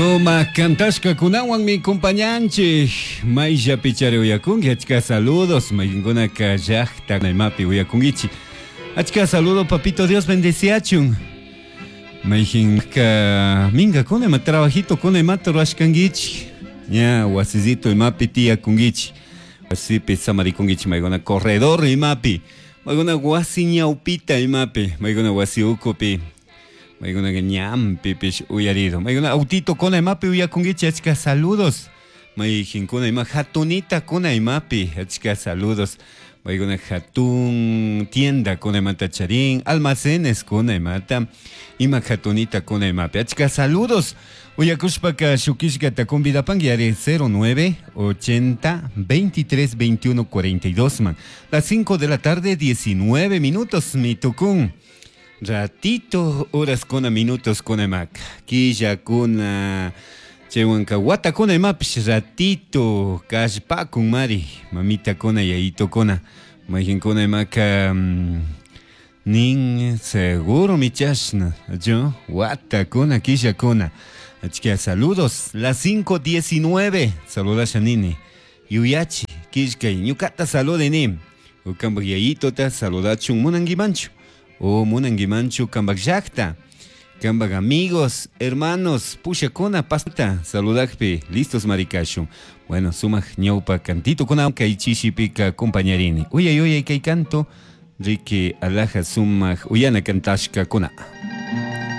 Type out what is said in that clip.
Sumak kantashkakunawanmi compañanchik. Mayllapi chari uyakunki, achka saludos. Mayqinkunaka llaqta imapi uyakunkichik. Achka saludo, papito Dios bendeciachun. Mayqinka minkakuna ima trabajito kuna imata rurashkankichik. Ña wasisito imapi tiyakunkichik. Wasipi samarikunkichik maykuna corredor imapi. Maykuna wasi ñawpita imapi. Maykuna wasi ukupi. Maykunaqa ñanpipish uyarido. Maykuna autito kuna imapi uyakunkichik, achka saludos. Mayqinkuna ima hatunita kuna imapi, achka saludos. Maykuna hatun tienda kuna imata charin, almacenes kuna imata, ima hatunita kuna imapi. Achka saludos. Uyakushpaka shukishkata convidapanki ari 09 80 23 21 42 man. Las 5 de la tarde, 19 minutos, mi tukun. Ratito, horas kuna, minutos kuna imaka. Killa kuna, chaywanka watakuna imapish ratito, kallpakun mari, mamita kuna, yayito kuna, mayqinkuna imaka nin seguro mi chashna, yo, watakuna, killakuna. Achka saludos, las 5:19, saludasha nini, yuyachi, killkay, ñukata saludini, ukampak yayitota saludachun munankimanchu. O munankimanchu kampak llaqta, kampak amigos, hermanos, pushakuna pasta saludakpi, listos marikashun. Bueno, sumak ñawpa cantito kuna kay chishipika acompañarini. Uyay uyay kay canto, riki alaja sumak uyana kantashkakuna.